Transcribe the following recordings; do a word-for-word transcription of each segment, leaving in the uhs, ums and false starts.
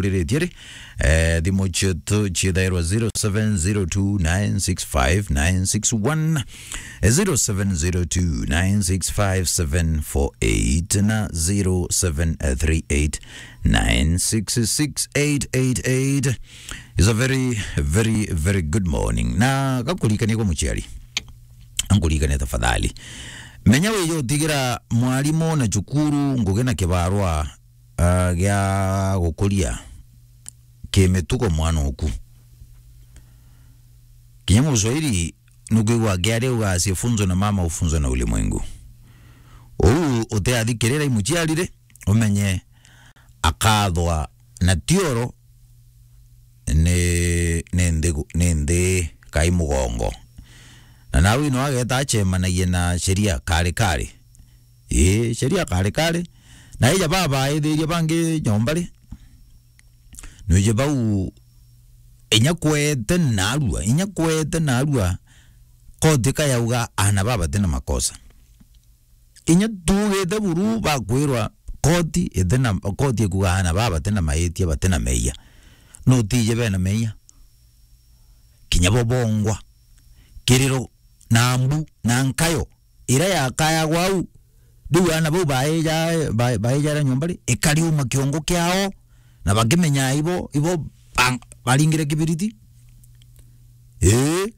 uriritie ri, eh, thimu cietu ciithairwa zero seven zero two nine six five nine six one, eh, zero seven zero two nine six five seven four eight na zero seven three eight nine six six eight eight eight. It's a very, very, very good morning. Na gakuririkania kwa muciari. Ankuririkania tafadhali. Menya wije utigira mwarimu na cukuru ngugi na kibarua, ah, gia gukuria kimitugo mwana oku. Kinya Muswahili nukwigua akiaria uga, "Asiyefunzwa na mama hufunzwa na ulimwengu." Uu utiathikirira i muciari ri, umenye akathwa na tioro ni, ni nthi, ni nthi kai mugongo. Na nawe no ageta acemanagie na sheria kari kari. Ii, sheria kari kari. Na ija babaithirie bangi nyomba ri, nwije bau inya kwete narua, inya kwete narua, koti kayauga ana baba batina makosa. Inya tuugite buru bakwirwa koti itina, koti ikuga ana baba batina maitia, batina meia. Nutije bena meia? Kinya bo bongwa. Kiriro na mbu na nkayo ira yakayagwa au, riu ana bau baija, ba-, baijara nyomba ri, ikariuma kiongo kiao, na bakimenya ibo, ibo bang-, baringire kibiriti. Ii.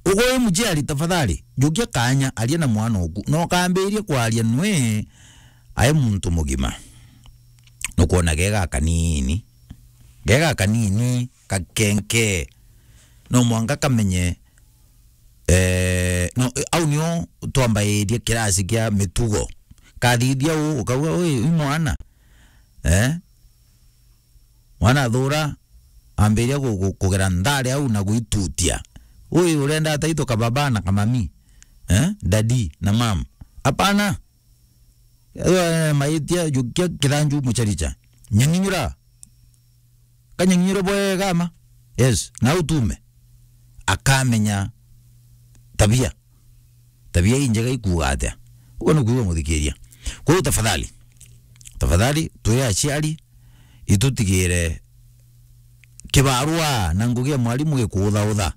Ugo wi muciari, tafadhali, jukia kanya, aria na mwana oku. Na ukambiria kwaria nwe ai muntu mugima. Nukwona gega kanini. Gega kanini, kakenke. No mwanka kamenye, eh, no, au nio twambairie kirasi kia mitugo. Kathithia u, ukauga, "Ui, ui mwana." Eh? Mwana athura, ambiria ku-, ku-, kugera nthari au na gwitutia. Ui, urenda ataitwa kababa na kamami? Eh? Daddy na mam? Hapana. Eh, maitia, jukia kithanju mucharicha. Nyanginyura. Kanyanginyura bwega ma. Yes, na utume. Akamenya tabia. Tabia injega ikuuga atia? Uguo ni kuuga, muthikiria. Kwa hiyo tafadhali, tafadhali, twi aciari, itutigire kibarua na ngugi ya mwarimu gikuuthautha.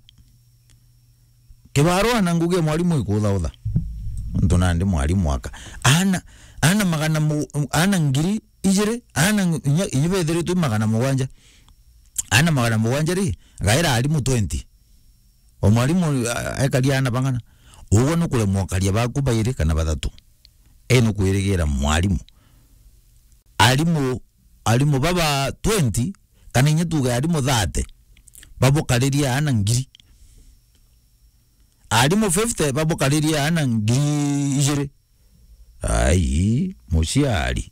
Kibarua na ngugi ya mwarimu gikuuthautha. Nontu nandi mwarimu aka. Ana, ana magana mu-, ana ngiri ijiri, ana ng-, inya, inya bethiritwe magana mugwanja. Ana magana mugwanja ri, gaira arimu twenty. O mwarimu, a-, ekaria ana bang'ana. Uguo nukuremwa ukaria baku bairi kana bathatu. E nukwirigira mwarimu. Arimu, arimu baba twenty, kana inya tuge arimu thirty, babukaririe ana ngiri. Arimu fifty, babukaririe ana ngiri ijiri. Ai, muciari.